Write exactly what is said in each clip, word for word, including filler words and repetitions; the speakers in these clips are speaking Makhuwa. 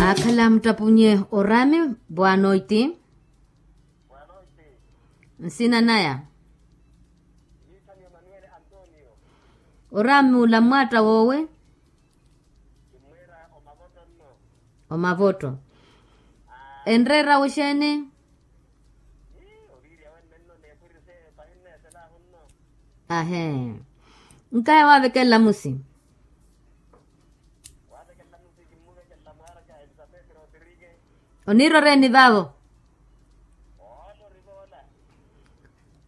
Akhala muttapunye orami. Bwanoiti. Nsina naya. Orami ula mmwatta wowe. Omavotto. Enreera wexeeni? Ahee. Nkaya wavekelela musi. Oniira oreeni vaavo?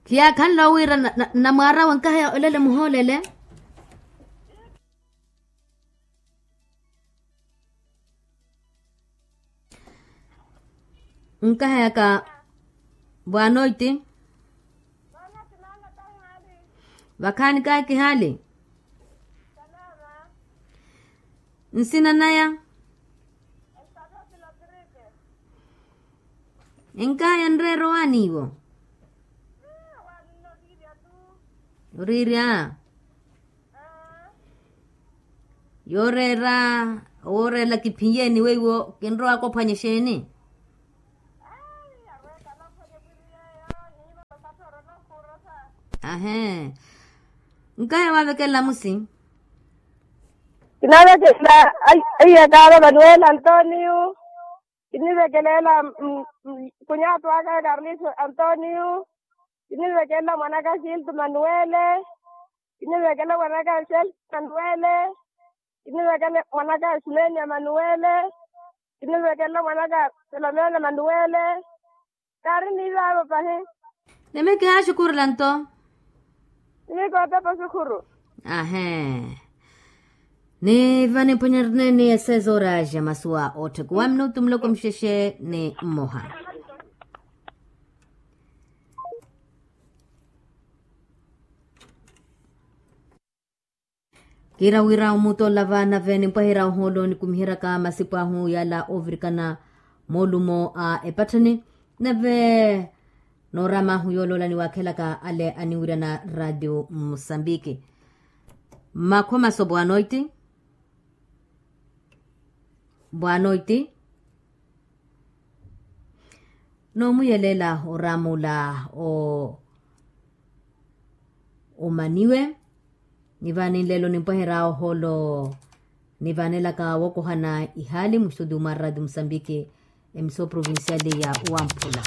Khiyaakhanle owiira namwaarawe nkahaya olele muhoolele. Nkahayaka bwanoiti. Vakhaani kaakihali. Nsina naya. Enkaya nreera owaaniiwo. Oriirya. Yooreera. Wooreela kiphiyeeni weiwo kinrowa kophwanya exeeni? Ahee. Nkaya wavekelela musi. Kinavekela. Aiyakaava manuela antoniyu. Kinivekelela. Kunyatu aka karliso antoniyu. Kinivekelela mwanaka sintu manuele. Kinivekelela mwanaka selsi manuele. Kinivekelela mwanaka simenia manuele. Kinivekelela mwanaka selomena manuele. Kaari niivaavo pahi. Nimi kihaaxukhurela nto. Nimi kootepa oxukhuru. Ahee. Ni vaniphwanyerene ni esezora ja masuwa otthekuwa minutu muloko muxexe ni mmoha. Kiira wira omuutolla vaana vene mpwahira ohoolo nikumiheryaka masipu ahu yala ovirikana moolumo a epatthani. Nave noorama ahu yooloola niwaakhelaka ale aniwiryana radio musambiki. Makhomaso bwanoiti. Bwanoiti. Noomuyelela oramuula o omaniwe. Nivaani nlelo nimpweherya ohoolo. Nivaanelaka wokohana ihaali muxutu mwa radio musambiki. Emiso provincial ya wamphula.